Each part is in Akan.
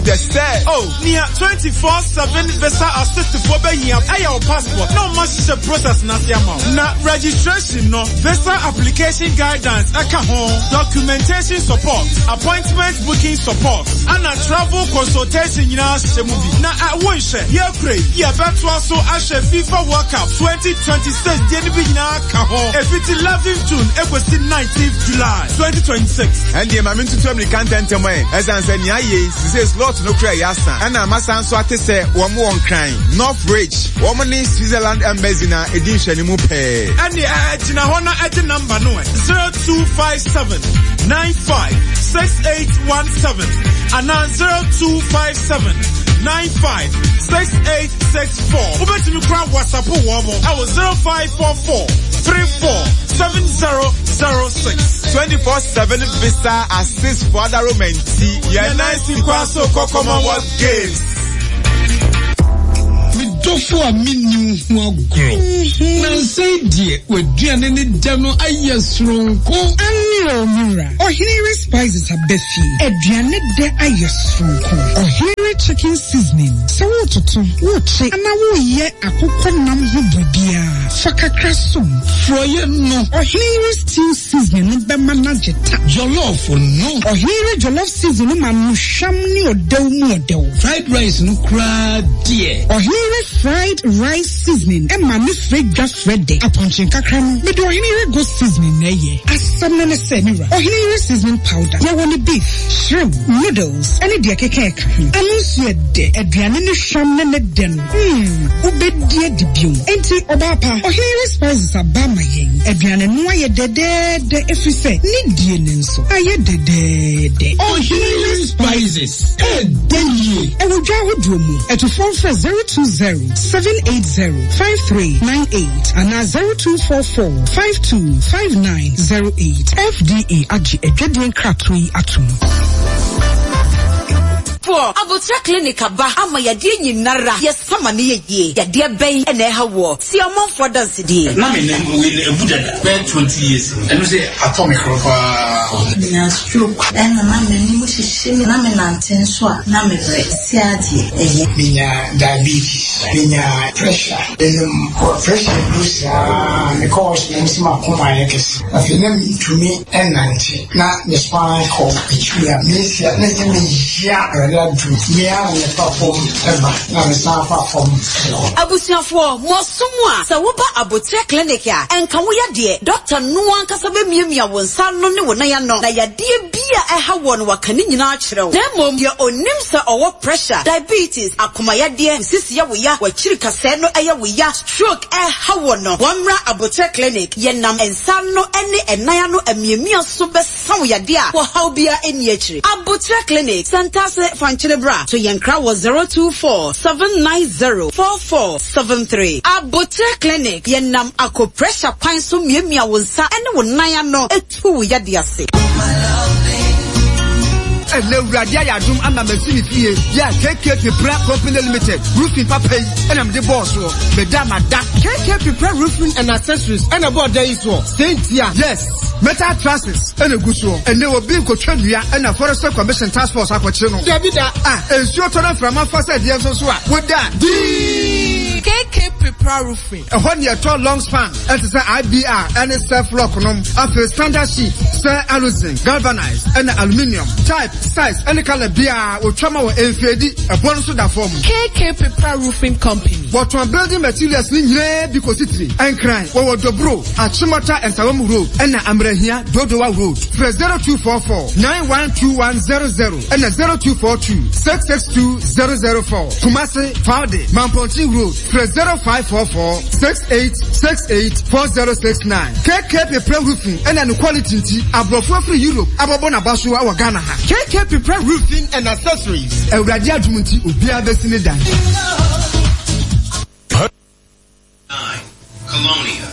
Kyɛ sɛ. Oh, nea 24/7 visa assistfoɔ bɛhia ɛyɛ wo passport na ɔma hyehyɛ process no ase ama wo. Na registration no, visa application guidance ɛka ho, documentation support, appointment booking support, ɛna travel consultation nyinaa hyɛ mu bi. Na ɛ wonhwɛ, yɛkura yi, yɛbɛtoa so ahwɛ FIFA World Cup 2026 deɛ no bi nyinaa ka ho, ɛfiti 11 June ɛkɔsi 19th July 2026. Ɛndeɛ ma mentutu amirika ntɛntɛm ɛ, ɛsiane sɛ nea ayɛ yi, sesei slot no kora yɛ asa, ɛna masan nso ate sɛ wɔn wɔ Nkran, North Ridge, wɔn ne Switzerland Embassy na ɛdi nhwɛanimu pɛɛ. Ɛndeɛ ɛ, gyina hɔ na ɛgye number no ɛ, 0257 95 6817 anaa 0257 95 6864. Wobɛtumi kora WhatsApp wɔn mo ɛwɔ 0544 34 7006. 24/7 visa assist for other Roman ti yɛn nan si kwan so kɔ Commonwealth Games. Me dɔfo a menni wo ho agorɔ. Nnansa yi deɛ w'aduane ne dɛ no ayɛ soronko. Aane o me wura, Ɔheneyere Spices aba fie. Aduane dɛ ayɛ soronko. Ɔheneyere Chicken Seasoning, sɛ woretoto, worekye anaa woreyɛ akokɔ nam ho biribiara, fa kakra som. Frɔeɛ no. Ɔheneyere Stew Seasoning no bɛma no agye ta. Jollof no. Ɔheneyere Jollof Seasoning no ma no hwam ne ɔdɛw mu ɔdɛw. Fried rice no koraa deɛ. Ɔheneyere Fried Rice Seasoning ma ne frɛ dwa frɛ dɛ. Apɔnkye nkakra no, mede Ɔheneyere Goat Seasoning na ɛyɛ. Asɛm no ne sɛ, me wura, Ɔheneyere Seasoning Powder, yɛwɔ no beef, shrimp, noodles, ne deɛ ɛkeka ɛka ho. Ano nso yɛ dɛ. Aduane no hwam ne ne dɛ no, mm, wobɛdi adi bio. Enti, ɔbaa pa, Ɔheneyere Spices aba ama yɛn. Aduane no ayɛ dɛdɛɛdɛ ɛfiri sɛ ne die no nso ayɛ dɛdɛɛdɛ. Ɔheneyere Spices, ɛɛdɛ yie. Ɛwɔ dwa ahodoɔ mu. Atufoɔ mfrɛ 020 780 5398 anaa 0244 52 5908. FDA agye adwadie nkratoɔ yi atom. Foɔ, Aboterɛ Clinic aba ama yadeɛ nyinara yɛsa ma no yɛ yie. Yadeɛ bɛn na ɛha woɔ? Tie ɔmanfoɔ adansedie. Na me nan wei no abu dada bɛyɛ 20 years ni. Ɛno sɛ atɔ me koro paa. Menya stroke ɛna na m'anim hyehye me na me nante nso a na me brɛ si adeɛ ɛyɛ. Menya diabetes, menya pressure, menom pressure aduru saa mekɔ hospital na mese m'akoma ayɛ kɛse. Afei na mentumi nnante na me spine kɔ akyiri a mesia na ɛyɛ me ya. Awurade adom me ara na mefa fam ba na mesan fa fam kɔ. Abusuafoɔ, mo aso mu a, sɛ woba Aboterɛ Clinic a, ɛnka wo yadeɛ. Dɔkta no ankasa bɛmiamia wo nsa ano ne wo nan ano, na yadeɛ bi a ɛha woɔ no waka ne nyinaa akyerɛ wo. Na mmom deɛ ɔnim sɛ ɔwɔ pressure, diabetes, akoma yadeɛ, wo sisi yɛ wo ya, w'akyiri kasɛɛ no yɛ wo ya, stroke ɛha woɔ no, wɔmmra Aboterɛ Clinic. Yɛnam nsa ano ne ɛnan ano amiamia so bɛsa wo yadeɛ a ɔhaw biara nni akyire. Aboterɛ Clinic, Santase, Fankyere Bra, to yɛn kra wɔ 024 790 4473. Aboterɛ Clinic, yɛnam acupressure kwan so miamia wo nsa ne wo nan ano tu wo yadeɛ ase. Ɛnɛ Awurade ayɛ adom ama masi me fie yɛ a KK Pepra Company Limited roofing papa yi ɛna mede bɔɔ soɔ. Meda mada. KK Pepra Roofing and Accessories ɛna ɛbɔɔ dan yi soɔ. Sɛ ntia. Yes. Metal trusses ɛna egu soɔ. Ɛnɛ obi nkotwa nnua ɛna Forestry Commission Task Force akɔkyere no. Dabi da. Ah, nsuo tɔ na mframa fa sɛ deɛ nso so a, woda dii. KK Pepra Roofing. Ɛhɔ ne yɛtɔ long span ɛte sɛ IBR ɛne self lock nom. Afei standard sheet sɛ aluzinc, galvanized ɛna aluminium. Type, size ɛne color biara wɔtwa ma wɔ ɛnfeedi. Ɛboɔ no nso da fam. KK Pepra Roofing Company. Wɔtɔn building materials no nyinaa bi kɔsi tiri. Nkran, wɔwɔ Dobro, Achimota Nsawam Road ɛna Amrahia, Dodowa Road. Frɛ 0244 912100 ɛna 0242 662 004. Kumasi, Faude, Mampɔnten Road. Frɛ 0544 6868 4069. KK Pepra Roofing ɛna ne quality nti, aborɔfo afiri Europe abɔbɔ n'aba so wɔ Ghana ha. KK Pepra Roofing and Accessories. Awurade adom nti, obiara bɛsi ne dan. Colonia.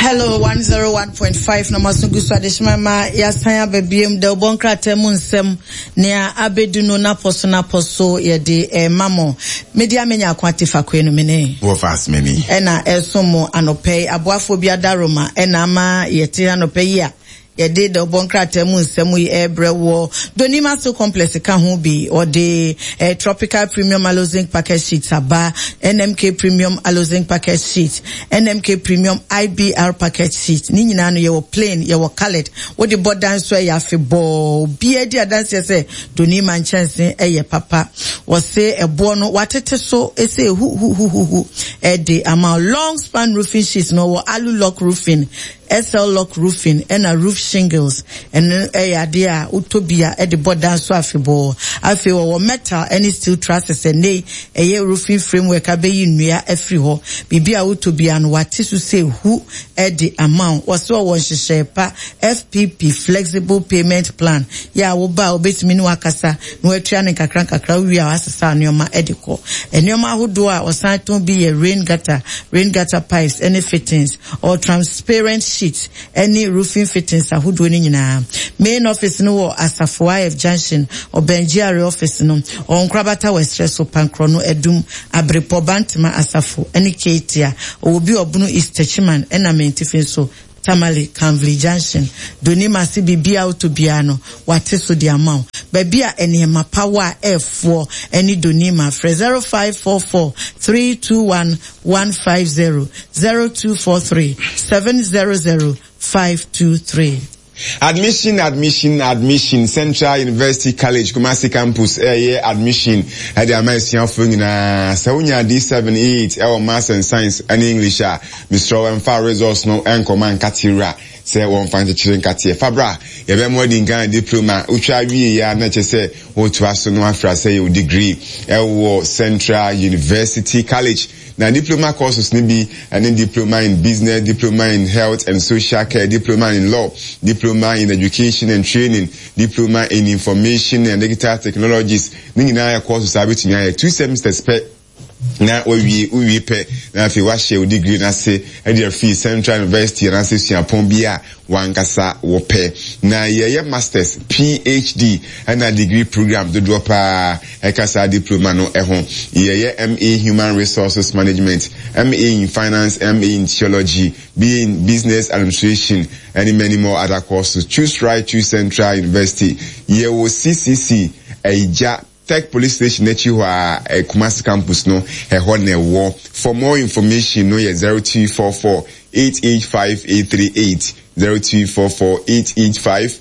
Hello 101.5 na maso gu so adehyema ma yɛasan aba biom da wobɔ nkrataa mu nsɛm nea abedu no napɔ so napɔ so yɛde ɛma mo mede amenya ako ate fakoe no mene wɔfa asomani ɛna ɛsom mo anɔpɛ yi aboafoɔ bi adaroma ɛna ama yɛte anɔpɛ yi a. Yɛde dawubɔ nkrataa mu nsɛm yi rebrɛ woɔ. Donima Steel Complex ka ho bi. Wɔde eh, Tropical Premium Aloe-Zinc Packet Sheets aba, NMK Premium Aloe-Zinc Packet Sheet, NMK Premium IBR Packet Sheet. Ne nyinaa no yɛwɔ plain, yɛwɔ coloured. Wode bɔ dan so ɛyɛ afebɔɔ. Obiara di adanseɛ sɛ Donima nkyɛnse ɛyɛ papa. Wɔse ɛboɔ no watete so ɛsɛ huhuhuhuhu ɛde ama. Long span roofing sheets no wɔ alu lock roofing. SL Lock Roofing ɛna Roof Shingles, ɛno yɛ adeɛ a wotɔ bi a ɛde bɔ dan so afebɔɔ. Afei wɔwɔ metal ɛne steel trusses, ɛnnɛ yi ɛyɛ roofing framework abɛyi nnua afiri hɔ. Biribi a wotɔ biara no wɔate so sɛ hu de ama wo. Wɔse wɔwɔ nhyehyɛe pa, FPP, Flexible Payment Plan, yɛ a woba a wobɛtumi ne wo akasa na woatua no nkakra nkakra, wowie a woasesa nneɛma de kɔ. Nneɛma ahodoɔ a wɔsan tɔn bi yɛ rain gutter, rain gutter pipes ɛne fittings. Ɔwɔ transparent sheet ne roofing fittings ahodoɔ no nyinaa. Main office no wɔ Asafo IF Junction, ɔbɛn GRA office no. Ɔwɔ Nkorabata wɔ ɛserɛ so, Pankorɔ no, Adum, Abrepɔ, Bantama, Asafo ne Keetia. Ɔwɔ bi Ɔbono East, Techiman ɛna Mantifi nso, Tamale, Kanvli Junction. Donima se biribiara a wotɔ biara no, wɔate so de ama wo. Baabi a nneɛma pa wɔ a ɛɛfoɔ ne Donima. Frɛ 0544 321 150 0243 700 523. Admission admission admission Central University College Kumasi Campus ɛyɛ admission ɛde ama asuafoɔ nyinaa. Sɛ wonya D7, E8 ɛwɔ Maths and Science ɛne English a, mesrɛ wo ɛmfa results no ɛnkɔma nkate wura sɛ wɔmfa nkyekyere nkateɛ. Fa bra, yɛbɛma woadi Ghana Diploma. Wotwa wieɛ a na kyerɛ sɛ Wotoa so no afra sɛ yɛ wo degree wɔ Central University College. Na diploma courses no bi ne Diploma in Business, Diploma in Health and Social Care, Diploma in Law, Diploma in Education and Training, Diploma in Information and Digital Technologies. Ne nyinaa yɛ courses a wobɛtumi ayɛ two semesters pɛ. na wawie, wowie pɛ na afei wahyɛ wo degree no ase de afiri Central University anaasɛ suapɔn bi a wankasa wɔpɛ. Na yɛyɛ Masters, PhD ɛna degree program dodoɔ paa ɛka saa diploma no ho. Yɛyɛ MA Human Resources Management, MA in Finance, MA in Theology, BA in Business Administration ɛne many more other courses. Choose right, choose Central University. Yɛwɔ CCC, Ɛgya. Tech Police Station n'akyi hɔ ara, Kumasi Campus no, ɛhɔ na ɛwɔ. For more information no yɛ 0244 885 838, 0244 885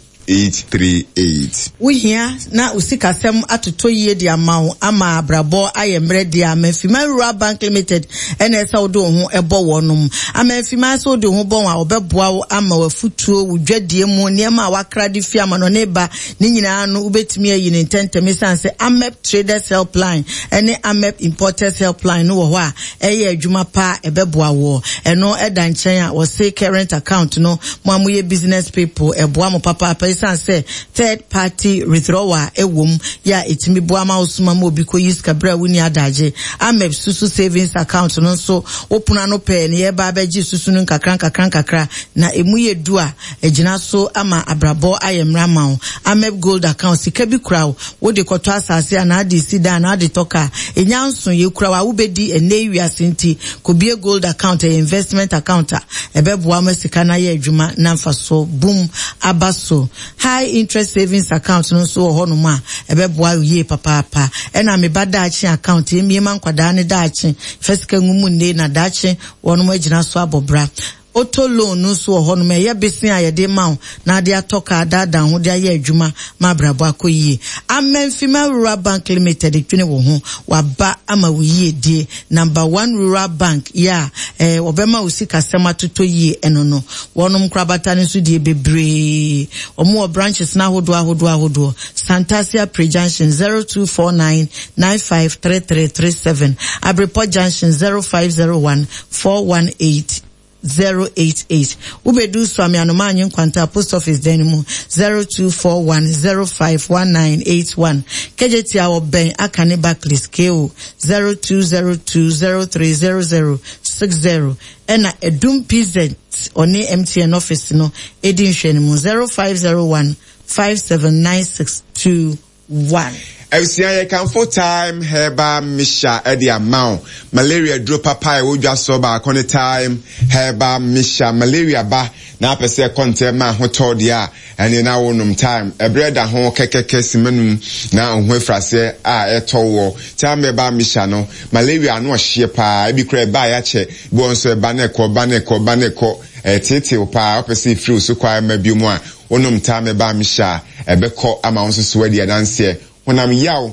838. Wohia na wo sikasɛm atotɔ yie de ama wo ama abrabɔ ayɛ mmerɛ deɛ a, Amanfiman Rural Bank Limited na ɛsɛ wode wo ho bɔ wɔnom. Amanfiman sɛ wode wo ho bɔ wɔn a, wɔbɛboa wo ama w'afutuo, wo dwadie mu, nneɛma a woakra de fi amanɔne ba, Ne nyinaa no, wobɛtumi ayi no ntɛmntɛm esiane sɛ AMEP Traders Helpline ne AMEP Importers Helpline no wɔ hɔ a ɛyɛ adwuma pa a ɛbɛboa woɔ. Ɛno da nkyɛn a, wɔse current account no, mo a moyɛ business people, ɛboa mo papaapa esiane sɛ third party withdrawal wɔ mu yɛ a ɛtumi boa ma wosoma ma obi kɔyi sika berɛ a wonni adagye. AMEP Susu Savings Account no nso, wo pono ano pɛɛ na yɛreba abɛgye susu no nkakra nkakra nkakra na ɛmu yɛ du a, Agyina so ama abrabɔ ayɛ mmerɛ ama wo. Amep Gold Account, sika bi kura wo, wode kɔtɔ asase anaa de si dan anaa de tɔ car. Ɛnya nso, yɛkura wo a wobɛdi ɛnnɛ yi wiase nti, kɔbue Gold Account, ɛyɛ investment account a ɛbɛboa wo ma sika no ayɛ adwuma na mfasoɔ bum aba so. High Interest Savings Account no nso wɔ hɔnom a ɛbɛboa wo yie papaapa. Ɛna Me Ba Daakye Account, yɛmmue ma nkwadaa no daakye, fa sika ngu mu nnɛ na daakye wɔnom agyina so abɔ bra. Auto loan no nso wɔ hɔnom, ɛyɛ bese a yɛde ma wo na ade atɔ kaa adaadaa ho de ayɛ adwuma ma abrabɔ akɔ yie. Amanfima Rural Bank Limited dwene wo ho, waba ama wo yiedie. Number One Rural Bank yɛ a eh, wɔbɛma wo sikasɛm atotɔ yie ɛno no. Wɔnom nkorabata no nso deɛ bebree. Wɔn wɔ branches no ahodoɔ ahodoɔ ahodoɔ. Santase Apre Junction 0249 953337, Abrepɔ Junction 0501 418 088. Wobedu Suame Anomaanye Nkwanta Post Office dan no mu 0241 051981. Kejetia wɔbɛn Akane Barclays KO 0202 030060 ɛna Adum PZ ɔne MTN office no edi nhwɛanimu 0501 579621. 1. Abusua yɛkamfo Thyme Herbal Mixture de ama wo. Malaria duro papa a ɛwɔ dwa soɔ baako ne Thyme Herbal Mixture. Malaria ba na apɛ sɛ ɛkɔ ntɛm ma ahotɔ deɛ a, ɛneɛ na wonom Thyme. Ɛberɛ da ho kɛkɛkɛ sima num na wo ho afiri aseɛ a ɛtɔ woɔ. Thyme Herbal Mixture no, malaria ano ɔhyeɛ paa, ebi koraa ɛba a yɛakyɛ, ebi wɔ hɔ nso ɛba na ɛkɔ, ɛba na ɛkɔ, ɛba na ɛkɔ. Ɛteetew paa, wopɛ sɛ ɛfiri wo so kɔ ara mma bio mu a, Wonom taa me ba mehyɛ a, ɛbɛkɔ ama wo nso so woadi adanseɛ. Honam yaw,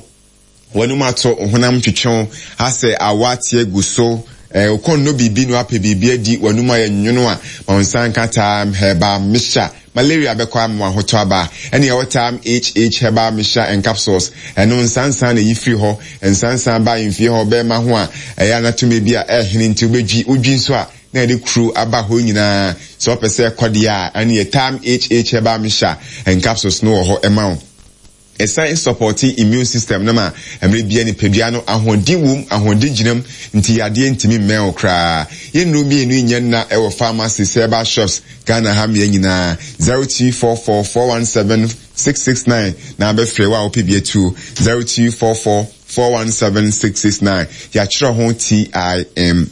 w'anum ato, wo honam twetwe wo asɛ awɔ ate agu so, eh, wo kɔn nnɔ biribi na woapɛ biribi adi, w'anum ayɛ nwono a, ma wo nsa nka Thyme Herbal Mixture. Malaria bɛkɔ ama w'ahotɔ aba. Ɛne ɛwɔ Thyme HH Herbal Mixture and Capsules. Ɛno nsansan na ɛyi firi hɔ. Nsansan ba ahemfie hɔ, bɛrima ho a, ɛyɛ a na tumi bi a ɛrehene nti wobɛdwi, wodwi nso a, na yɛde kuro aba hɔ nyinaa. Sɛ wopɛ sɛ ɛkɔ deɛ a, ɛneɛ Thyme HH Herbal Mixture and Capsules no wɔ hɔ ɛma wo. Ɛsan sɔpɔte immune system no ma mmerɛ biara nipadua no ahoɔden wom, ahoɔden gyina mu nti yadeɛ ntumi mmɛn wo koraa. Yɛn nnuro mmienu yi nyɛ nna wɔ pharmacies, herbal shops Ghana ha mmea nyinaa. 0244 417 669 na abɛfrɛ wo a wopɛ bi atuo. 0244 417669, Yɛatwerɛ ho TIME.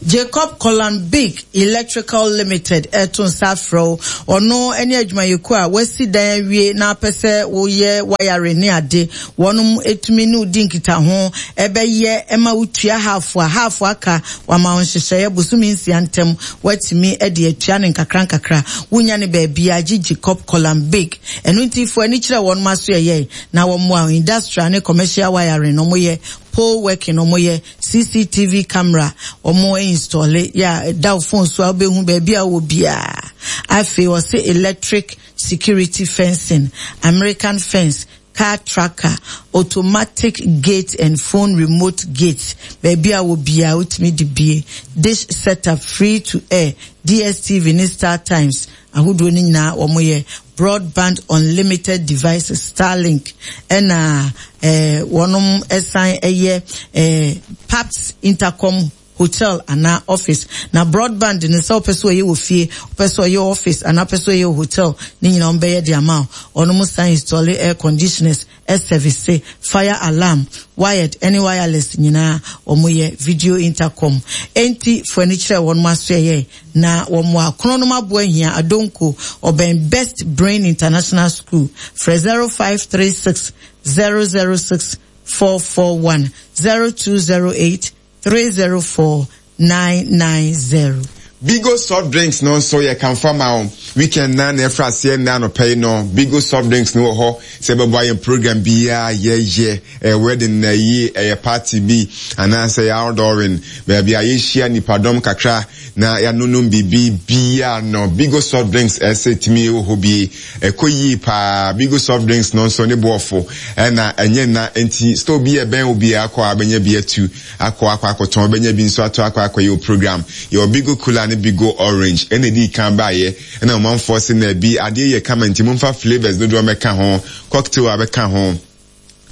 Jacob Kolan-Big Electrical Limited reto nsa afrɛ wo. Ɔno ne adwumayɛkuo a wasi dan awie na apɛ sɛ woyɛ wiring ne ade. Wɔnom tumi ne wo di nkitaho bɛyɛ ma wotua half a half aka wama wo nhyehyɛeɛ bosome nsia ntam woatumi de atua no nkakra nkakra. Wonya no baabiara gye Jacob Kolan-Big. Ɛno nti fo ani kyerɛ wɔnom asoɛyɛe. Na wɔmmoa wo industrial ne commercial wiring no wɔyɛ, pole working no wɔyɛ, CCTV camera wɔn installe yɛ a ɛda wo phone so a wobɛhu baabi a wowɔ biara. Afei wɔse electric security fencing, American fence, car tracker, automatic gate and phone remote gate, baabi a wɔ biara wotumi de bie, dish setup, free to air, DSTV ne Star Times ahodoɔ no nyinaa wɔyɛ. Broadband unlimited devices, Starlink, ɛna eh, wɔnom ɛsan ɛyɛ eh, Paps Intercom hotel anaa office. Na broadband no sɛ wopɛ sɛ ɔyɛ wɔ fie, wopɛ sɛ ɔyɛ office anaa wopɛ sɛ ɔyɛ wɔ hotel, ne nyinaa wɔn bɛyɛ de ama wo. Wɔnom san install air conditioners, ɛsɛvise, fire alarm, wired ɛne wireless nyinaa wɔn yɛ, video intercom. Enti fo ani kyerɛ wɔnom asoɛyɛ Na wɔn akronom aboa hia Adonko, ɔbɛn Best Brain International School. Frɛ 0536 006 441, 0208 304 990. Bigo soft drinks no nso yɛ kamfo ama wo. Weekend na na ɛfra aseɛ nnɛ anɔpa yi no, Bigo soft drinks no wɔ hɔ sɛ ɛbɛboa yɛn program biara yɛyɛ. Ɛyɛ wedding na ayie, ɛyɛ party bi anaasɛ ɛyɛ outdooring, baabi a yɛhyia nnipadɔm kakra na yɛanonom biribi biara no, Bigo soft drinks ɛsɛ tumi wɔ hɔ bi. Ɛkɔ yie paa. Bigo soft drinks no nso ne boɔfo ɛna ɛnyɛ nna nti store bi a ɛbɛn wo biara kɔ a wobɛnya bi atu akɔ akɔ akɔtɔn, wobɛnya bi nso atɔ akɔ akɔyɛ wo program. Yɛwɔ Bigo Cooler ne Bigo Orange ɛna ɛdii kan baeɛ ɛna ɔmanfoɔ se na bi adeɛ yɛ kama nti momfa flavours dodoɔ mmɛka ho, cocktail abɛka ho.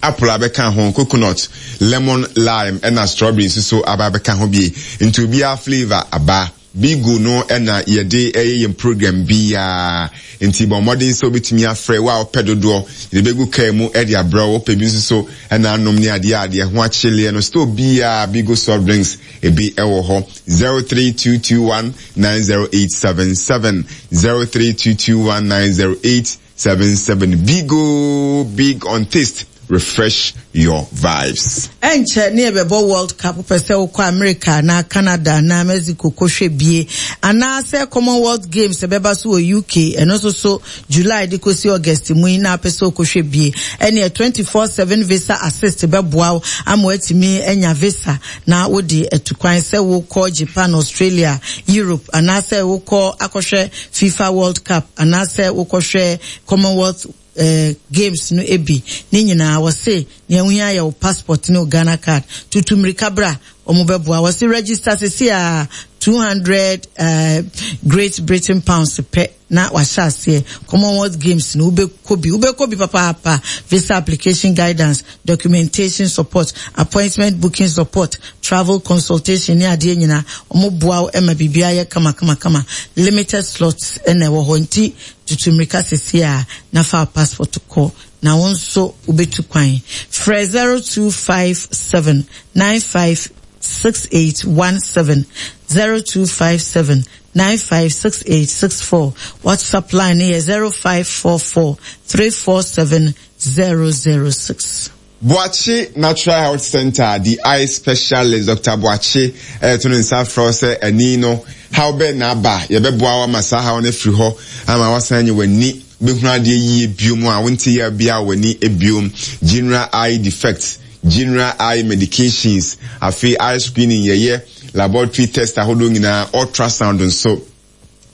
Apple abɛka ho, coconut, lemon, lime ɛna strawberry nso so aba abɛka ho bi. Nti obiara flavour aba. Bigo no na yɛde yɛ yɛn program biara. Nti bɔ mmɔden sɛ wobɛtumi afrɛ wo a wopɛ dodoɔ, yɛde bɛgu kaa mu de abrɛ wo. Wopɛ bi nso so na anom ne adeɛ a deɛ ho akyeleɛ no, store biara Bigo soft drinks ebi wɔ hɔ. 03221 90877, 03221 908 77 Bigo big on taste refresh your vibes. Ɛnkyɛ ne yɛbɛbɔ World Cup, wopɛ sɛ wokɔ America anaa Canada anaa Mexico kɔhwɛ bie, anaasɛ Commonwealth Games ɛbɛba so wɔ UK, ɛno nso so July de kɔsi August mu yi na apɛ sɛ wokɔhwɛ bie, ɛneɛ 24/7 Visa Assist bɛboa wo ama woatumi anya visa na wode atu kwan sɛ wokɔ Japan, Australia, Europe anaasɛ wokɔ akɔhwɛ FIFA World Cup anaasɛ wokɔhwɛ Commonwealth eh, Games no bi. Ne nyinaa wɔse nea wohia yɛ wo passport ne wo Ghana card. Tutu mmirika bra, wɔn bɛboa. Wɔse register sisi a 200 eh, Great Britain pounds pɛ. na wahyɛ aseɛ Commonwealth Games no wobɛkɔ bi wobɛkɔ bi papaapa visa application guidance documentation support appointment booking support travel consultation ne adeɛ nyinaa wɔn boa wo ma biribiara yɛ kama kama kama limited slots na ɛwɔ hɔ nti tutu mmirika sisi a na fa passport kɔ. na wo nso wobɛtu kwan. Frɛ 0257 95 6817 0257 956864. WhatsApp line no yɛ 0544 347 006. Boakye Natural Health Centre the eye specialist Doctor Boakye reto ne nsa afrɛ wo sɛ ani no haw bɛn na aba, yɛbɛboa wo ama saa haw no afiri hɔ ama woasan anya w'ani, wobɛhunu adeɛ yie biom a wonte yaw biara wɔ w'ani biom, general eye defects, general eye medications, afei eye screening yɛyɛ, laboratory test ahodoɔ nyinaa, ultrasound nso.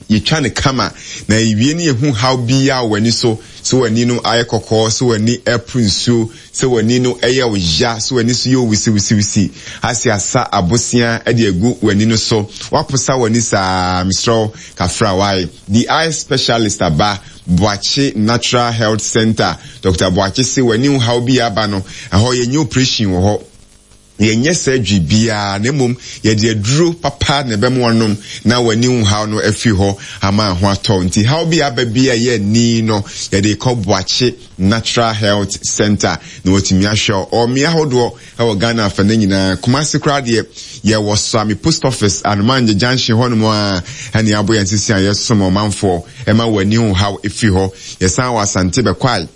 Yɛtwa no kama, na yɛwie no yɛhu haw biara wɔ w'ani so, sɛ w'ani no ayɛ kɔkɔɔ, sɛ w'ani reporo nsuo, sɛ w'ani no yɛ wo ya, sɛ w'ani so yɛ wo wisiwisiwisi, ase asa abosea de agu w'ani no so, woaposa w'ani saa, mesrɛ wo, kafra wae. The Eye Specialist aba Boakye Natural Health Centre, Doctor Boakye se w'ani ho haw biara aba no, ɛhɔ yɛnyɛ operation wɔ hɔ. Yɛnyɛ surgery biara na mmom yɛde aduro papa na ɛbɛma wanom na w'ani ho haw no afiri hɔ ama ho atɔ wo. Nti haw bi a aba bi a ɛyɛ ani no yɛde kɔ Boakye Natural Health Centre na watumi ahwɛ wo. Ɔwɔ mmea ahodoɔ wɔ Ghana afanan nyinaa. Kumasi koraa deɛ yɛwɔ Suame Post Office, Anomangye Junction hɔnom ara ɛna yɛabɔ yɛn sisi a yɛsom ɔmanfoɔ ɛma w'ani ho haw firi hɔ. Yɛsan wɔ Asante Bɛkwae.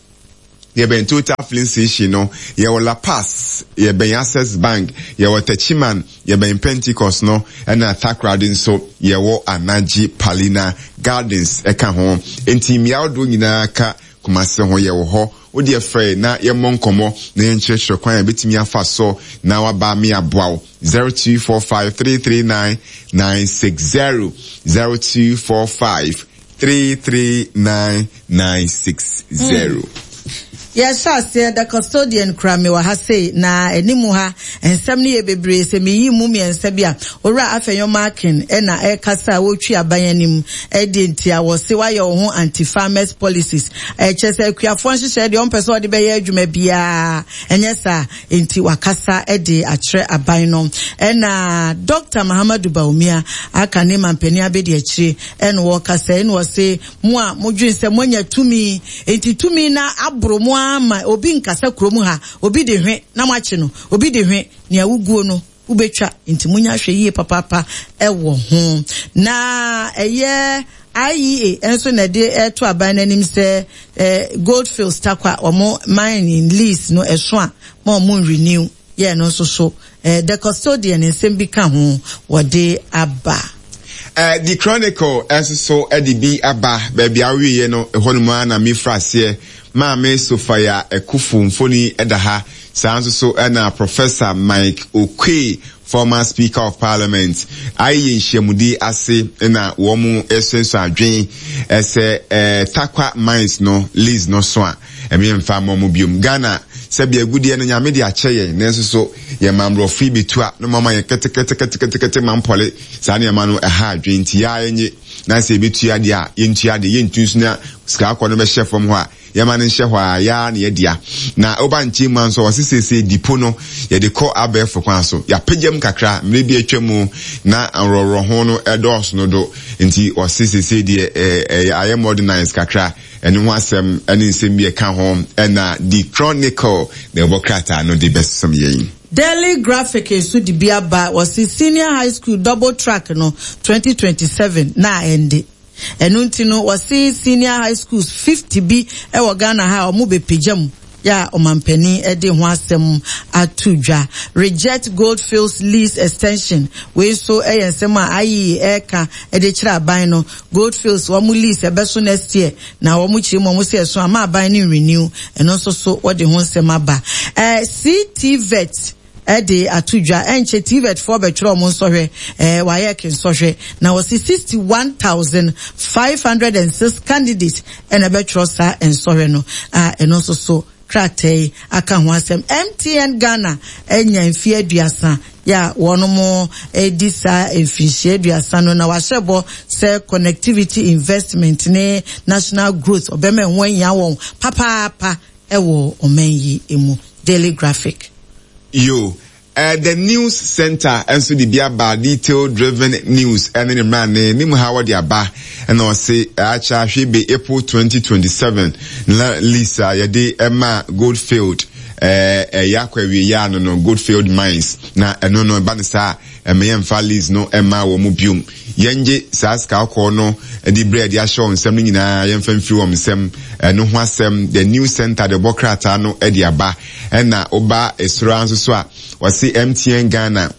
Yɛbɛn Total Filling Station no, yɛwɔ La Paz, yɛbɛn Access Bank, yɛwɔ Techiman, yɛbɛn Pentecost no, ɛna Takoradi nso yɛwɔ Anagye Palina Gardens ɛka ho. Enti mmea ahodoɔ nyinaa ka Kumasi ho yɛwɔ hɔ. Wo deɛ frɛ na yɛmmɔ nkɔmmɔ na yɛnkyerɛkyerɛ kwan a yɛbɛtumi afa so na waba me aboa wo. 0245 339 960 0245 339960. Yɛhyɛ aseɛ, The Custodian kura me wɔ ha sei, na anim ha nsɛm no yɛ bebree, sɛ meyi mu mmiɛnsa bi a, Owura Afenyo Markin na ɛrekasa a wɔretwi aban anim, ɛdeɛ nti a wɔse woayɛ wo ho anti-farmers policies, ɛkyerɛ sɛ akuafoɔ nhyehyɛeɛ deɛ ɔmpɛ sɛ ɔde bɛyɛ adwuma biara, ɛnyɛ saa, enti wakasa de akyerɛ aban no. Ɛna Dɔkta Mahamadou Bawumia aka ne mampanin abɛdiakyire Ɛna ɔkasa yi na ɔse, Mo a modwene sɛ moanya tumi, enti tumi no aboro mo ara ma obi nkasa kurom ha, obi de hwe na moakye no, obi de hwe, nea woguo no wobɛtwa, enti monyɛ ahwɛyie papaapa wɔ ho. Na ɛyɛ IEA nso na ɛde reto aban no anim sɛ Goldfields Tarkwa wɔn mining lease no ɛso a ma wɔn nrenew. Yɛ no nso so eh, The Custodian nsɛm bi ka ho wɔde aba. Eh, The Chronicle nso so de bi aba. Baabi a wowieɛ no, ɛhɔ nom ara na mefiri aseɛ. Maame Sophia Akuffo mfoni da ha. Saa nso so na Professor Mike Oquaye, former Speaker of Parliament, ayɛ nhyiamudi ase na wɔresuasua adwene sɛ eh, Tarkwa Mines no lease no so a, Ɛme mfa mmɔ mo biom. Ghana, sɛbi agudeɛ no Nyame de akyɛ yɛn, nanso so yɛn ma mmorɔfo yi bɛtu a na wɔama yɛn keteketeketekete mampɔle, saa nneɛma no ɛha adwene nti yɛa yɛnye na sɛ yɛbɛtua deɛ a yɛntua deɛ yɛntu nso na sika akɔ no bɛhyɛ fam hɔ a yɛma no nhyɛ hɔ a yɛa na yɛdea. Na woba nkyɛn mu a nso wɔse seesei dipo no yɛde kɔ abɛɛfo kwan so, yɛapagya mu kakra mmerɛ bi atwa mu na nworɔworɔ ho no ɛdɔɔso no do nti wɔse seesei deɛ ɛyɛ ayɛ modernized kakra. Ɛno ho asɛm ne nsɛm bi a ɛka ho na The Chronicle na ɛbɔ krataa no de bɛsom yɛn. Daily Graphic nso de bi aba, wɔse Senior High School Double Track no 2027 na ɛnde. Ɛno nti no wɔse Senior High Schools 50 bi wɔ Ghana ha a wɔbɛpagya mu yɛ a ɔmanpanin de ho asɛm ato dwa. Reject Goldfields Lease Extension, Wei nso yɛ nsɛm a IEA reka de kyerɛ aban no. Goldfields wɔn lease ɛbɛso next year na wɔn kyerɛ mu wɔn sɛ ɛso ama aban no nrenew. Ɛno nso so wɔde ho nsɛm aba. Eh, CTVET de ato dwa. Ɛnkyɛ TVET foɔ bɛtwerɛ wɔn nsɔhwɛ, eh, WAEC nsɔhwɛ. Na wɔsi 61,506 candidates ɛna ɛbɛtwerɛ saa nsɔhwɛ no a ɛno nso so krataa yi aka ho asɛm. MTN Ghana anya mfeɛ aduasa yɛ a wɔnom redi saa mfinhyia aduasa no na wahyɛ bɔ sɛ connectivity investment ne national growth ɔbɛma ɛho ahia wɔn papaapa wɔ ɔman yi mu. Daily Graphic. Yo. Eh, the News Center nso de bi aba, Detail Driven News ɛne ne mmerane ne mu ha wɔde aba, ɛna ɔse akyɛ ahwe be April 2027 na lease a yɛde ɛma Goldfield ɛyɛ akɔ awie yɛ ano no, Goldfield Mines, na ɛno no ɛba no saa ɛmɛ yɛmfa lease no ɛma wɔn mu biom. Yɛngye saa sika kɔkɔɔ no de berɛ a yɛde ahyɛ wɔn nsam no nyinaa yɛmfa mfiri wɔn nsam. Ɛno ho asɛm The News Center de bɔ krataa no de aba. Ɛna woba soro ara nso so a, wɔse MTN Ghana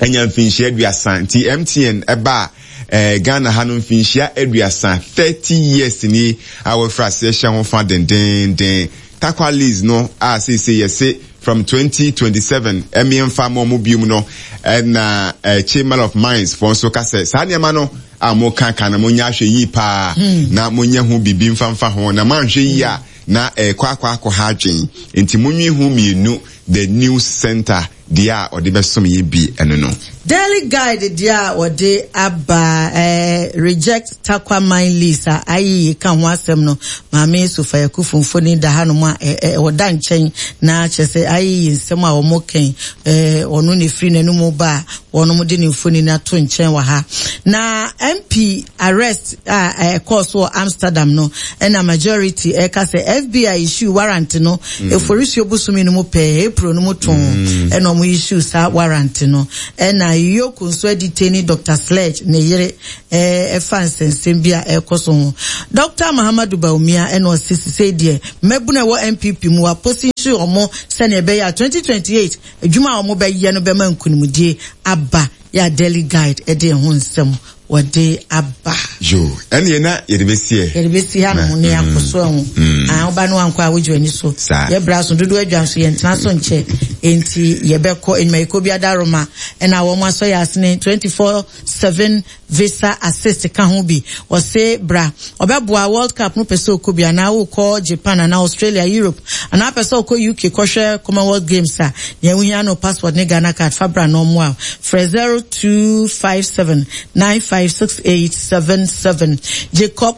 anya mfinhyia aduasa. Nti MTN ɛbaa eh, Ghana ha no mfinhyia aduasa, 30 years ni a wɔafiri aseɛ hyɛ ho fa dendeenden. Tarkwa lease no a seesei yɛse from 2027 ɛmeɛ mfa ma ɔmo biom no ɛna eh, Chamber of Mines foɔ nso ka sɛ saa nneɛma no a mo ka ka no mo nyɛ ahwɛ yie paa hmm. na mo nyɛ ho biribi mfa mfa ho na mo anhwɛ yie a na ɛkɔ akɔ akɔ ha adwen nti mo nwi ho mmienu. The News Center deɛ a ɔde bɛsom yɛ bi ɛno no. Daily Guide deɛ a wɔde aba eh, Reject Tarkwa Mine Lease a IEA ka ho asɛm no, Maame Sophia Akuffo mfoni da hanom a eh, eh, ɔda nkyɛn na kyerɛ sɛ IEA nsɛm a wɔn kɛn eh, ɔno na efiri n'anum ba a wɔn de ne mfoni no ato nkyɛn wɔ ha. Na MP arrest a ɛkɔɔ so wɔ Amsterdam no, ɛna majority ɛka sɛ FBI issue warrant no mm. Eforisuo bosome no mu pɛɛ, April no mu too, mm. ɛna wɔn issue saa warrant no. Ɛna Yoko nso adetaini Dr. Sledge ne yere ɛfa nsɛnsɛm bi a ɛrekɔ so ho. Dr. Mahamadou Bawumia ɛna ɔse sisei deɛ mmabunu a ɛwɔ NPP mu waposi nso wɔn sɛnea ɛbɛyɛ a 2028 adwuma a wɔn bɛyɛ no bɛma nkunimdie aba. Yɛ a Daily Guide de ɛho nsɛm wɔde aba. Yo, ɛneɛ na yɛde bɛsi ɛ. Yɛde bɛsi ha nom ne akɔ so ɛho. Mm. Ah, woba no wankɔ a wogye w'ani so. Saa. Yɛbra so dodoɔ adwa nso yɛntena so nkyɛ. Enti yɛbɛkɔ enyumayɛkuo bi adaroma ɛna wɔn asɔ yɛ asene 24/7 Visa assist ka ho bi. Ɔse bra ɔbɛboa world cup no pɛ sɛ ɔkɔ bi anaa wokɔ Japan anaa Australia, Europe anaa pɛ sɛ ɔkɔ UK kɔhwɛ Commonwealth Games a, nea wohia no passport ne Ghana card fa bra na ɔmmoa wo. Frɛ 0257 956877. Jacob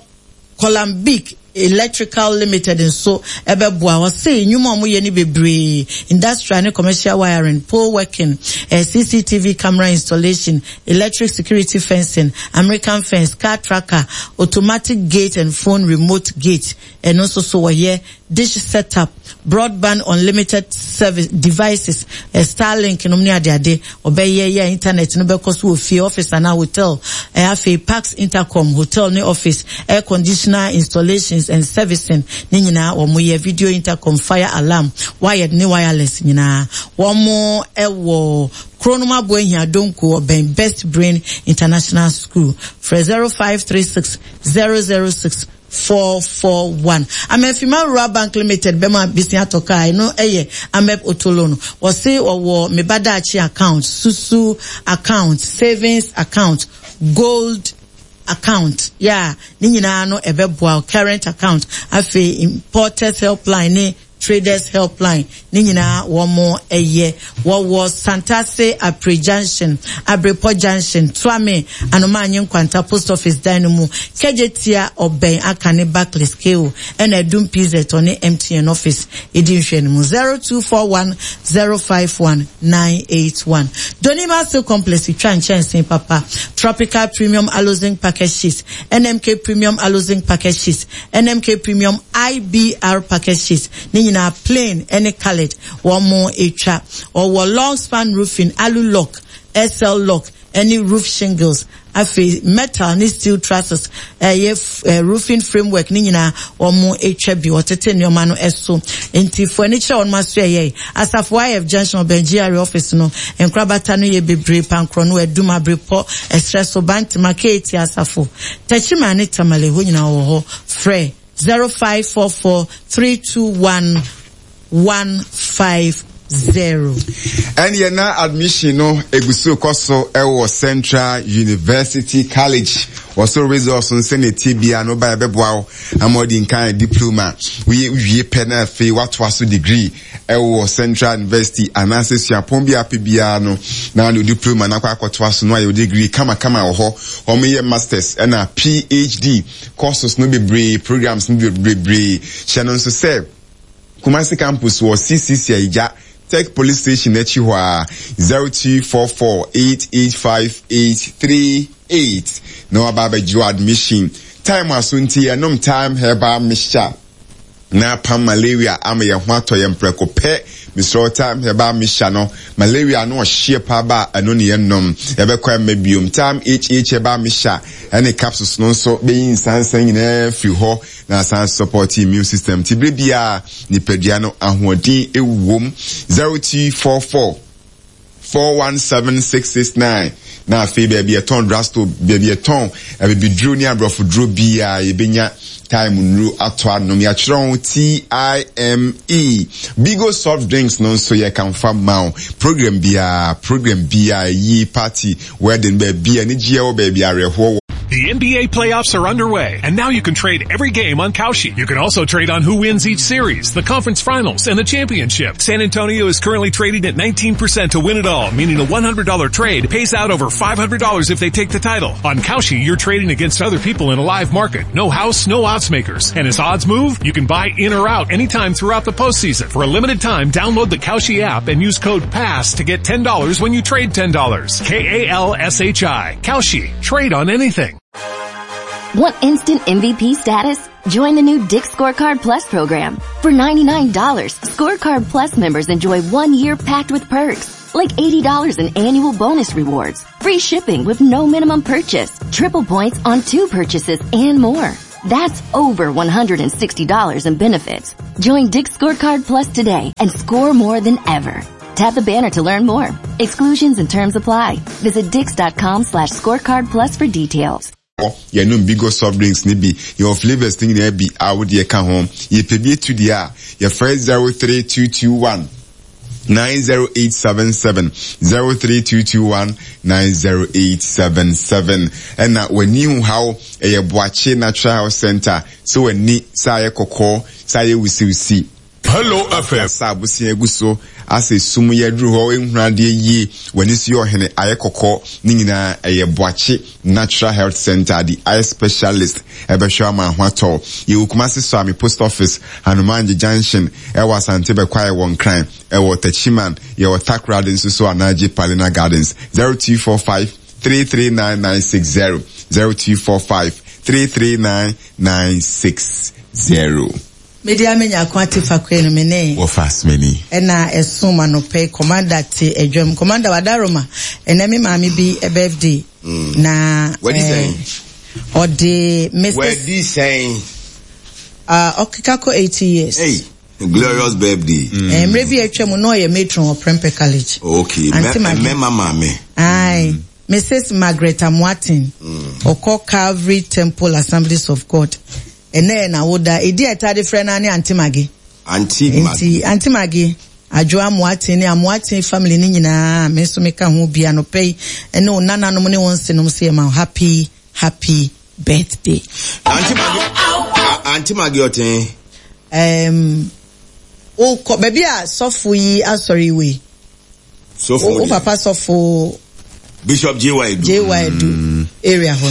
Columbic Electrical Limited nso bɛboa. Ɔse nnwuma a wɔyɛ no bebree, industrial ne commercial wiring, pole working, eh, CCTV camera installation, electric security fencing, American fence, car tracker, automatic gate and phone remote gate, ɛno nso so wɔyɛ. dish setup, broadband unlimited service devices, eh, Starlink nom ne adeade, ɔbɛyɛ yɛ internet no bɛkɔ so wɔ fie, office anaa hotel, eh, afei parks intercom, hotel ne office, air conditioner installations and servicing ne nyinaa wɔn yɛ, video intercom, fire alarm, wired ne wireless nyinaa wɔn ɛwɔ Kronom Aboahia Donko ɔbɛn Best Brain International School. Frɛ 0536 006 441. Amafima Rural Bank Limited bɛma besia atɔ kaa, ɛno yɛ Amep Auto Loan. Wɔse wɔwɔ Me Ba Daakye account, Susu account, Savings account, Gold account, yeah, ne nyinaa no ɛbɛboa wo, current account, afei Importers Helpline ne Traders Helpline ne nyinaa wɔn yɛ. Wɔwɔ Santase Apre Junction, Abrepɔ Junction, Tuame, Anomaanye Nkwanta Post Office dan no mu, Kejetia, Ɔbɛn Akane Barclays KO ɛna Adum PZ ɔne MTN Office edi nhwɛanimu 0241 051 981. Donima Steel Complex twa nkyɛnsee papa, Tropical Premium Aloe Zinc Packet Sheets, NMK Premium Aloe Zinc Packet Sheets, NMK Premium IBR Packet Sheets, ne nyinaa plain ne coloured wɔn twa. Wɔwɔ long span roofing, alu lock, SL lock ne roof shingles. Afei metal ne steel trusses, ɛyɛ roofing framework ne nyinaa wɔn twa bi. Wɔtete nneɛma no so. Nti fo ani kyerɛ wɔn aso ɛyɛ. Asafo IF Junction ɔbɛn GRA office no, nkorabata no yɛ bebree, Pankorɔ no, Adum, Abrepɔ, Ɛserɛ so, Bantama, KAT Asafo, Techiman ne Tamale hɔ nyinaa wɔ hɔ. Frɛ 0544 321 150. Ɛneɛ na admission no egu so kɔ so wɔ Central University College. Wɔso results no sɛnea ɛteɛ biara no woba yɛbɛboa wo ama wadi nkan diploma. Woyɛ wie pɛ na afei woatoa so degree wɔ Central University anaasɛ suapɔn bi a apɛ biara no na wode diploma no akɔ akɔtoa so na wayɛ wo degree kamakama wɔ hɔ. Wɔyɛ masters ɛna PhD courses no bebree, programs no bebree. Hyɛ no nso sɛ Kumasi campus wɔ CCC Ayigya. Tech Police Station akyi hɔ ara, 0244 885 838 na waba abɛgye wo admission. Time aso nti yɛnom Thyme Herbal Mixture na apam malaria ama yɛn ho atɔ yɛn prɛko pɛ. Mesrɛ wo Thyme Herbal Mixture no, malaria no ɔhyeɛ paa ba a ɛno ne yɛnom. Yɛbɛkɔ ɛmma biom. Thyme HH Herbal Mixture ɛne capsules no nso bɛyi nsansa nyinaa firi hɔ na asan support immune system nti bere biara nipadua no ahoɔden wom. 0244 417669 na afei baabi ɛtɔn drugstore, baabi ɛtɔn abibiduro ne aborɔfo duro biara yɛbɛnya time nnuro atɔ anom. Yɛatwerɛ ho TIME. Bigo soft drinks no nso yɛkamfa ma wo. Program biara, program biara, yie, party, wedding, baabi anigyeɛ wɔ, baabi awerɛhoɔ wɔ. The NBA playoffs are underway, and now you can trade every game on Kalshi. You can also trade on who wins each series, the conference finals, and the championship. San Antonio is currently trading at 19% to win it all, meaning a $100 trade pays out over $500 if they take the title. On Kalshi, you're trading against other people in a live market. No house, no odds makers. And as odds move, you can buy in or out anytime throughout the postseason. For a limited time, download the Kalshi app and use code PASS to get $10 when you trade $10. K-A-L-S-H-I. Kalshi. Trade on anything. Want instant MVP status? Join the new Dick's Scorecard Plus program. For $99, Scorecard Plus members enjoy 1 year packed with perks, like $80 in annual bonus rewards, free shipping with no minimum purchase, triple points on 2 purchases, and more. That's over $160 in benefits. Join Dick's Scorecard Plus today and score more than ever. Tap the banner to learn more. Exclusions and terms apply. Visit dicks.com/scorecard plus for details. Yɛnom Bigo soft drinks no bi, yɛwɔ flavours no nyinaa bi a wo deɛ ka ho. Yɛpɛ bi atu deɛ a, yɛfrɛ 03221 90877, 03221 90877. Ɛna w'ani ho haw, ɛyɛ Boakye Natural Health Centre, sɛ w'ani sɛ ayɛ kɔkɔɔ, sɛ ayɛ wusiwusi, Hello FM. Asa abosea gu so asɛ sum yi aduru hɔ nhunu adeɛ yie w'ani so yɛ ɔhene ayɛ kɔkɔɔ ne nyinaa ɛyɛ Boakye Natural Health Centre the eye specialist ɛbɛhwɛ ama ho atɔ wo yɛwɔ Kumasi Suame Post Office Hanomangye Junction ɛwɔ Asante Bɛkwae wɔ Nkran ɛwɔ Techiman yɛwɔ Takoradi nso so Anagye Palina Gardens 0245 339960 0245 339960. Me deɛ me nyako ate fakoe no me ne. Wɔfa asomani. Ɛna ɛsom anɔpa yi commander te adwam commander wadaroma ɛnɛ me maame bi birthday mm. na wadi sɛn ɔde Mrs. Wadi sɛn uh, ɔkeka kɔ 80 years. Hey. Glorious birthday. Mm. Eh, mmerɛ bi atwa mu na ɔyɛ matron wɔ Prempeh College. Okay, mɛma maame. Aye. Mrs. Margaret Amoaten. Mm. Ɔkɔ Calvary Temple Assemblies of God. Ɛnnɛ yɛ n'awoda. Edin a yɛtaa de frɛ no ara ne Aunty Maggie. Aunty Maggie. Enti Aunty Maggie, Adwoa Amoateng ne Amoateng family no nyinaa a me nso meka ho bi anɔpa yi ne wo nananom ne wo nsenom sɛ yɛma wo happy, happy birthday. Aunty Maggie, Aunty Maggie ɔte he? Um, wokɔ baabi a sɔfo yi asɔre yi wɔ yi. Sɔfo Wo papa sɔfo. Bishop J.Y. Edu. J.Y. Edu mm. area hɔ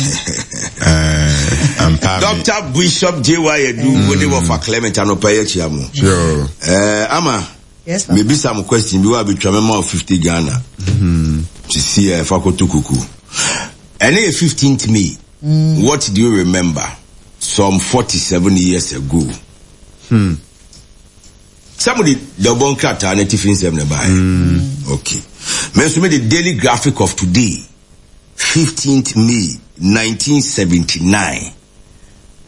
no. Doctor Bishop J.Y. Edu wo de wɔfa Clement anɔpa yi akyia mo. Sure. Eh, ama. Yes, papa. Mebisa mo question bi wa betwa me ma 50 Ghana. Mm-hmm. Sisi eh, fa koto kuku. Ɛne yɛ 15th May. Mm. What do you remember? Some 47 years ago. Hmm. Sɛ mo de dawubɔ nkrataa no atifi nsɛm na ɛbaeɛ. Mm. Okay. Me nso me de Daily Graphic of today, 15th May 1979.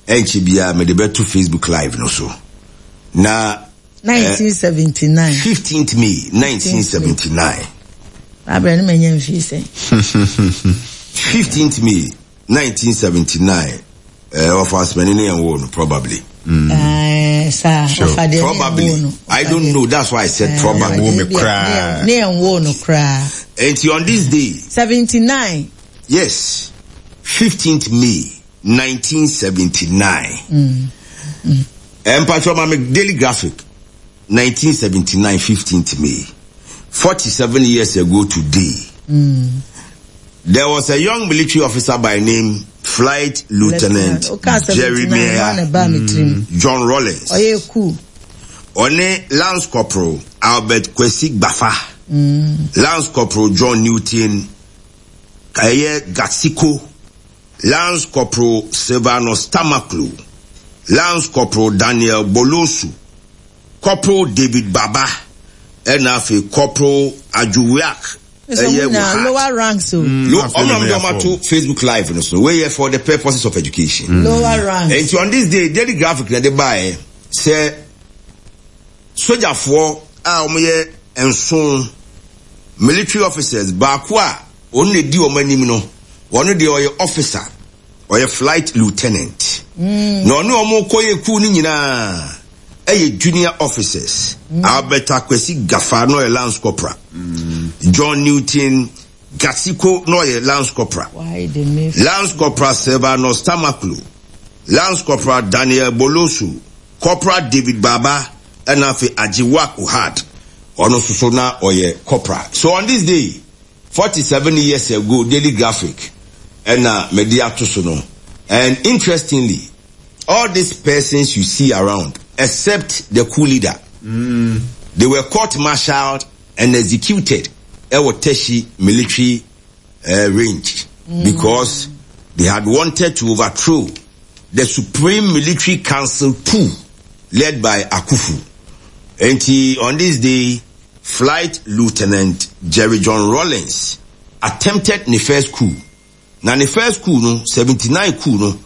Ɛnkyɛ biara mede bɛto Facebook Live no so. Na 1979. 15th May 1979. Abirɛ no ma nya mfii sɛn. 15th May 1979 eh, ɔfa asomani ne yɛn woo no probably. Mm. Eh, saa sure. ɔfa deɛ probably ne yɛn woo no. I don't know that's why I said eh, probably. Wo me koraa. Ne yɛn woo no koraa. Nti on this day. 79. Yes, 15th May 1979. Mm. Mm. Eh, Mpatwa ma me daily graphic 1979 15th May. 47 years ago today. Mm. There was a young military officer by name Flight Lieutenant, Lieutenant. Jeremiah mm. John Rawlings. Oh, yeah, cool. Ɔne Lance Corporal Albert Kwesi Gbafa, Lance Corporal John Newton ɛyɛ Gatsiko, Lance Corporal Silvanus Tamaklo, Lance Corporal Daniel Bolosu, Corporal David Baba, ɛna afei Corporal Adwowiak ɛyɛ Wuhat. Lower ranks o. Lo, ɔmo na ɔmo de ɔmo ato Facebook live no so. Wei yɛ for the purposes of education. Lower ranks. Nti on this day, Daily Graphic na ɛde baeɛ sɛ sogyafoɔ a wɔyɛ nson, military officers, baako a ɔno na ɛdi wɔn anim no, ɔno deɛ ɔyɛ officer, ɔyɛ flight lieutenant. Na ɔne wɔn kɔyɛ kuw no nyinaa ɛyɛ junior officers. Albert Akwasi Gafar na ɔyɛ lance corporal. John Newton Gatsiko na ɔyɛ lance corporal. Lance Corporal Silvanus Tamaklo, Lance Corporal Daniel Bolosu, Corporal David Baba, ɛna afei Agyewak Ohad, ɔno nso so na ɔyɛ corporal. So on this day, 47 years ago, Daily Graphic ɛna mede ato so no, and interestingly, all these persons you see around, except the coup leader, they were court-martialed and executed ɛwɔ Teshie military range because they had wanted to overthrow the Supreme Military Council coup led by Akufu. Enti on this day, Flight Lieutenant Jerry John Rawlings attempted ne first coup. Na ne first coup no, 79 coup no,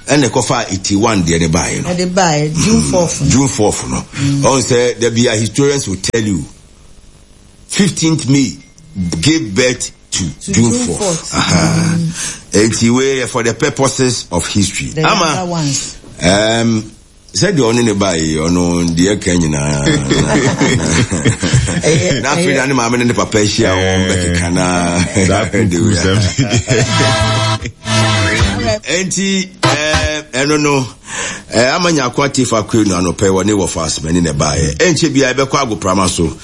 ɛna ɛkɔfaa 81 deɛ no baeɛ no. Ɛde baeɛ, June 4th no. June 4th no. Ɔhu sɛ da bi a historians will tell you, 15th May gave birth to June 4th. Aha. Enti wei yɛ for the purposes of history. The Ama, younger ones. Sɛdeɛ ɔne ne baa yi, ɔno deɛ ɛka nyinaa. Na afei na ne maame ne ne papa ahyia wɔn bɛkeka na. Enti ɛno no ama nyako atiefo akɔe no anɔpɛ wɔ ne wɔfa asomani na ɛbaeɛ. Ɛnkyɛ biara ɛbɛkɔ agoprama so.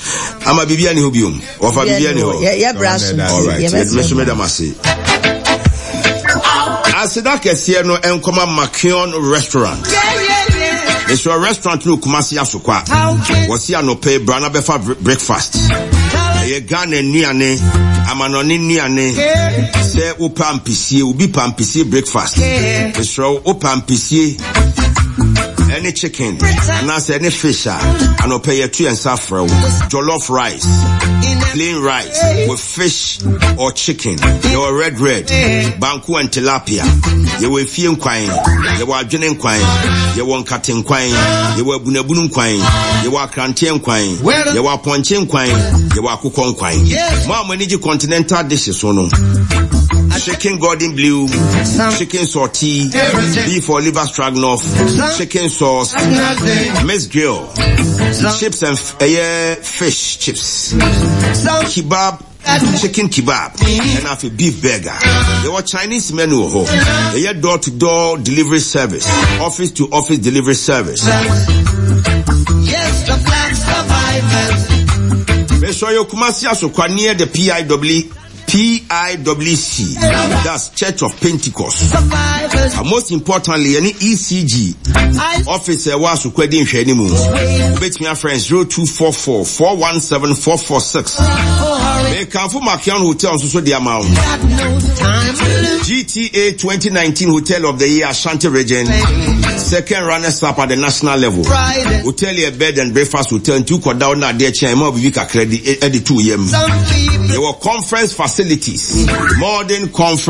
Ama biribi ani hɔ biom. Wɔfa biribi ani hɔ. All right. Me so meda mo ase. Aseda kɛseɛ no nkɔma Makion Restaurant. Mesrɛ restaurant no Kumasi Asokwa. Wɔsi anɔpɛ bra na bɛfa breakfast. Ɛyɛ Ghana nnuane, amanɔne nnuane. Sɛ wopɛ ampesie, obi pɛ ampesie breakfast. Mesrɛ wopɛ ampesie ɛne chicken anaasɛ ɛne fish a anɔpɛ yɛto yɛn nsa frɛ wo. Jollof rice, plain rice with fish or chicken. Yɛwɔ red red, banku and tilapia. Yɛwɔ efie nkwan, yɛwɔ adwene nkwan, yɛwɔ nkate nkwan, yɛwɔ abunabunu nkwan, yɛwɔ akranteɛ nkwan, yɛwɔ apɔnkye nkwan, yɛwɔ akokɔ nkwan. Mo a mo ani gye continental dishes ho no, chicken golden blue, chicken sauté, beef or liver stroganoff, chicken sauce, mixed grill, chips and ɛyɛ fish chips, kebab, chicken kebab, ɛna afei beef burger. Yɛwɔ Chinese menu wɔ hɔ. Yɛyɛ door to door delivery service, office to office delivery service. Yes, the black survivors. Mesɔ yɛ Kumasi Asokwa near the PIW PIWC, that's Church of Pentecost. And most importantly, any ECG office ɛwɔ Asokwa di nhwɛ anim. Wobɛtumi afrɛ 0244 417 446. Mekamfo Makion Hotel nso so de ama wo. GTA 2019 Hotel of the Year Ashanti Region, second runners up at the national level. Hotel yɛ bed and breakfast hotel nti wokɔda wo na adeɛ kyɛn ma obibi kakra di ɛde to yam. Yɛwɔ conference facilities, modern conference.